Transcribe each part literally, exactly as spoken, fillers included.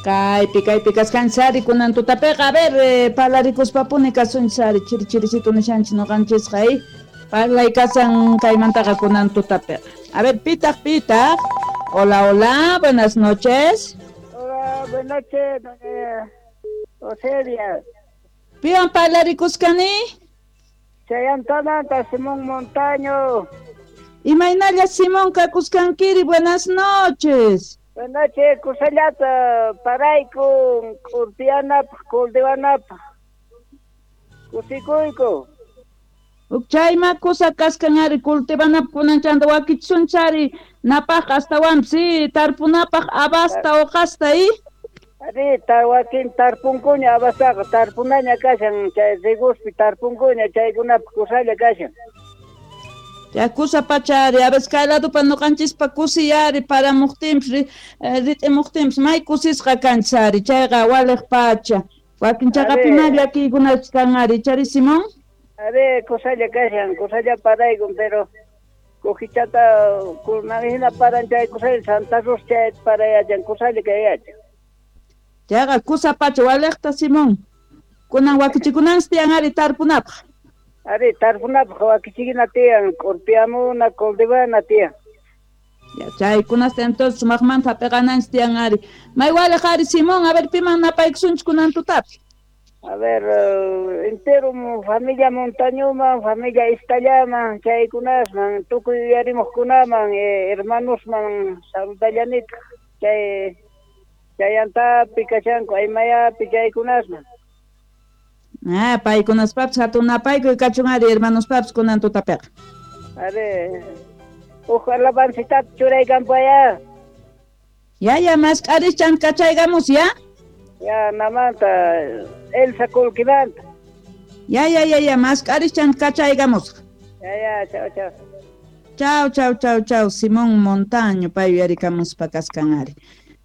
Kaypi kaypi kasqanchis ari kunan tutapiqa, a ver, eh, parlarikuspapuni kasunchis ari, chiri chirisitu nishanchis noqanchisqa, eh? Parlay kasan kaymantaqa kunan tutapiqa. A ver, pitaq pitaq. Hola, hola, buenas noches. Hola, buenas noches, doña Oselia. Piwan parlarikuskani? Chayantananta Simón Montaño. Imaynalla Simón kakusqankiri, buenas noches. Buenas noches, kusallata paraykun, kurtiyanapaq, kultiwanapaq. Kusikuyku. Chayma kusa kasqan ari cultivanapaq kunanchanta wakichisunchari napaq astawanpis si tarpunapaq abasta uqasta i. Ari, tar wakin tarpunkuña abastaqa tarpunaña kashan chay riguspi tarpunkuña chaykunapaq kusalla kashan. Ya kusa pacha ari, a veces kay ladopa noqanchispa kusiy ari paramuqtinpis rit'imuqtinpis may kusisqa kanchis ari, chayqa waliq pacha. Wakin chaqapi llakiykunapis kan ari, chari Simón? Ari, kusalla kashan, kusalla paraykun, pero kujichata kunanhina paran chay kusalla Santa Cruz chay parayachan kusalla kayachan. Chayqa kusa pacha waliqta Simón. Kunan wakichikunanchis tiyan ari tarpunapaq. Ari, tarpunapaq wakichikuna tiyan, k'urpiyamuna, cultivana tiyan. Ya, chaykunasta entonces sumaqmanta hap'iqananchis tiyan ari. May waliq ari Simón, a ver piman napaykusunchis kunan tutapi. A ver, uh, entero familia Montañoman, familia Istallaman, chaykunasman, tukuy yuyarimuqkunaman, eh, hermanosman saludallanitaq, chay chayantapi kashanku, aymayapi chaykunasman. Ah, paykunaspapis hatun napaykuy kachun ari hermanospapis kunan tutapiqa. Ari, huk alabancitata churaykanpaya. Ya, ya, mask'arischan kachaykamus, ya? Ya, namanta, Elsa Kulkimanta. Ya, ya, ya, ya, mask'arischan kachaykamus. Ya, ya, chao, chao. Chao, chao, chao, chao, Simón Montaño, pay yuyarikamuspa kasqan ari.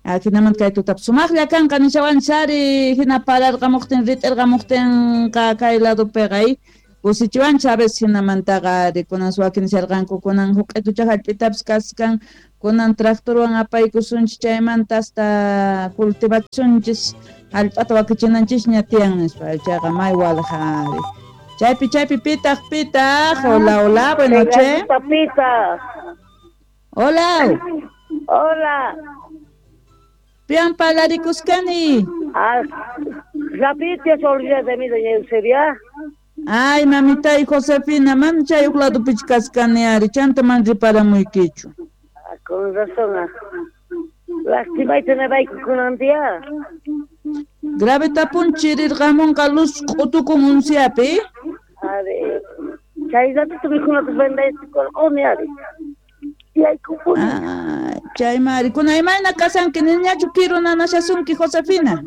Jinamanta kay tutap sumaqlla kanqa nishawanchis ari, hina pararqamuqtin, rit'irqamuqtinqa kay ladopiqa, kusichiwanchis a veces hinamantaqa ari, kunan wakin nisharqanku, kunan huq'itucha hallp'itapis kasqan, kunan tractorwan apaykusunchis chaymanta hasta cultivasunchis, hallp'ata wakichinanchisña tiyan nispa, chayqa may waliq ari. Chaypi, chaypi, pitaq, pitaq, hola, hola, buenas noches. Papita. Hola. Hola. Pian parlarikuskani. Ah, rapidito se olvida de mí, doña Eusebia. Ay, mamita y Josefina, man chay uq ladopichu kaskani ari, chanta man riparamuykichu. Ah, con razón. Ah. Lastimayta nabayku kunan día. Grave tapun chirirqamunqa luz q'utukun unsiapi. Ari, chay ratito mikhunata vendaysikurquni ari. Ah, chay mari, kuna imayna kasanki niñachu kiru nanashasunki Josefina?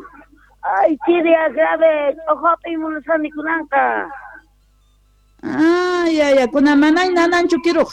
Ay, chiria grave, ojopi munasani kunanqa. Ah, ya, ya, kuna manay nananchu kiruqa.